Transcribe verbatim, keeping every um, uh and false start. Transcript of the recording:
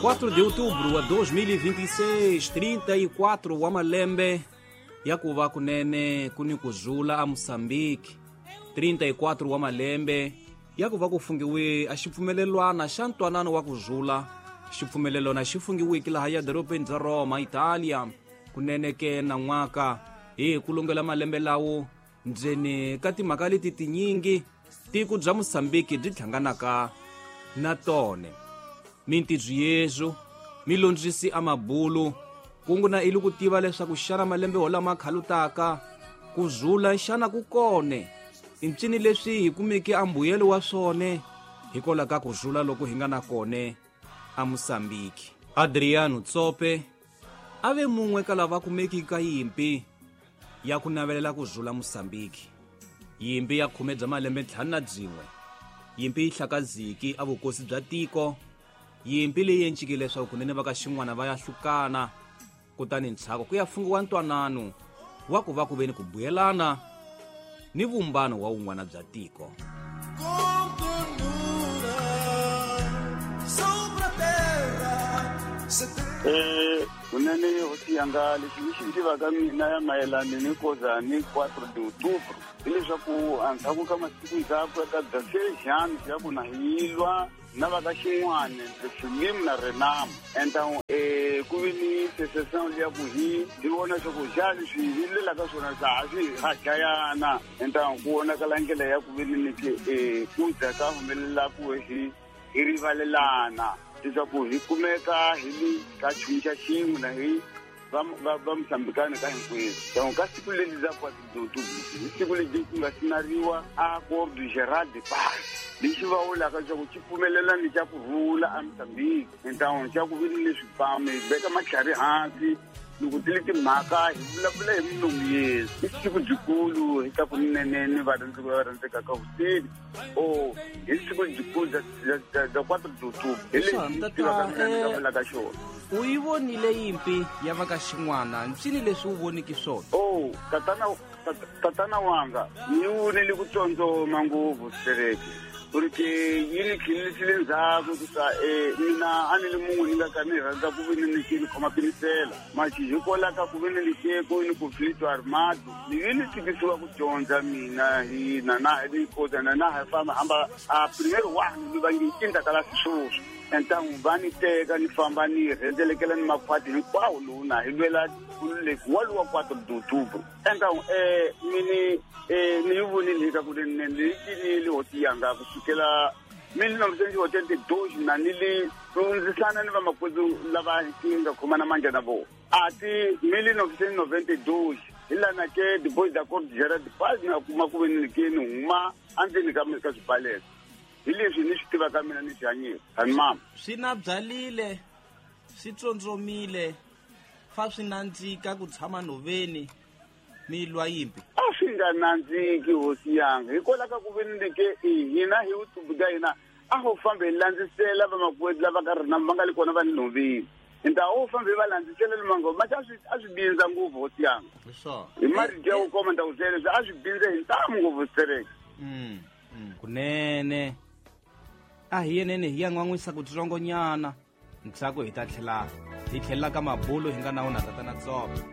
quatro de outubro wa dois mil e vinte e seis, trinta e quatro wa malembe ya ku va kunene ku ni ku zula a Moçambique. trinta e quatro wa malembe ya ku va ku fungiwe a xipfumelelwana xa ntwanano wa ku zula. Xipfumelelwana xi fungiweke laha ya dorobeni bya Roma, Italia. Kunene ke na n'waka hi ku lungela malembe lawo ndzeni ka timhaka leti tinyingi tiko bya Moçambique byi hlanganaka na tone. Mintidzo yezu milondzisi a mabulu kungu na ili ku tiva leswaku xana malembe holama khalutaka ku zula xana ku kone i ncini leswi hi kumeke a mbuyelo wa swone hikwalaho ka ku zula loko hi nga na kone a Moçambique. Adriano Tsope a ve mun'we ka lava kumeki ka yimpi ya ku navelela ku zula Moçambique. Yimpi ya khume bya malembe ntlhanu na byin'we, yimpi yi hlakaziki a vukosi bya tiko, yimpi leyi encikile leswaku kunene va ka xin'wana va ya hlukana, kutani ntshaku ku ya fungiwa ntwanano wa ku va ku ve ni ku buyelana ni vumbano wa wun'wana bya tiko. Eh, kunene hosi yanga lexi ni xi tivaka mina ya mayelana ni koza ni quatro de outubro hileswaku endzhaku ka masiku ndzhaku ka dezesseis anos ya ku na hi lwa na va ka xin'wana Frelimo na Renamo. Então eh ku vi ni secession liya ku hi hi vona leswaku xa leswi hi lwelaka swona swa ha swi ha dlayana. Então ku vonakala ndlela ya ku vi ni ke eh ku za ka humelela ku hi hi rivalelana leswaku hi kumeka hi li ka nchumu xa xin'we na hi va va va Moçambikana ka hinkwenu. Donc ka siku leri ra quatro de outubro hi siku leri ku nga sinariwa Acordo Geral de Paz lexi va vulaka leswaku xi pfumelelani xa ku rhula a Moçambique. Então xa ku vi ni swibamu hi veka matlhari hansi loko ti li timhaka hi vulavula hi milomu yesu. I siku byikulu hi ta ku nene ni varhandzi va rhandzekaka hosini o hi siku byikulu bya bya quatro de outubro hi lexi tivaka mina ni nga vulaka xona. U yi vonile yimpi ya va ka xin'wana, ncini leswi u voniki swona? Oh, tatana tatana wanga ni vonile ku tsondzoma ngopfu Sereke porque yi ni tlhelerisile ndzhaku ku ta eh mina a ni li mun'we ni nga ka ni rhandza ku vi ni ni ni khoma pinisela maxi hikwalaho ka ku vi ni likeko ni conflito armado ni vi ni tikisiwa ku dyondza mina hi na na ni koza na na ha famba hamba a primeiro one ni va ngi cinta kala sweswo. Então va ni teka ni famba ni rhendzelekela ni makhwati hinkwawo lowu na hi lwela nkululeko wa luwa quatro de outubro. Então eh mini eh ni yi vonile ka ku ni ni cinile hosi yanga ku sukela mille novecentos e oitenta e dois na ni li lundzisana ni vamakwerhu lava hi nga khomana mandla na vona. A ti mille novecentos e noventa e dois hi lana ke depois da Acordo Geral de Paz na kuma ku ve ni ke ni huma endzeni ka ka swibalelo. Hi leswi ni swi tivaka mina ni swi hanyile tani mama. Swi na byalile, swi tsondzomile, fa swi nandzika ku tshama nhoveni mi lwa yimpi. A swi nga nandziki hosi yanga hikwalaho ka ku ve ni ke hina hi vutubu bya hina a ho fambe hi landzisela vamakwerhu lava ka rina va nga le kona va le nhoveni. Nta ho fambe hi va landzisela le mangoma ma a swi a swi bindza ngopfu hosi yanga. Hi marito ya ku koma ni ta ku byela leswi a swi bindze hi ntamu ngopfu Sereke. Kunene a hi yenene hi ya n'wan'wisa ku tsongonyana ntsako hi ta tlhela hi tlhelela ka mabulo hi nga na wona tatana Tsope.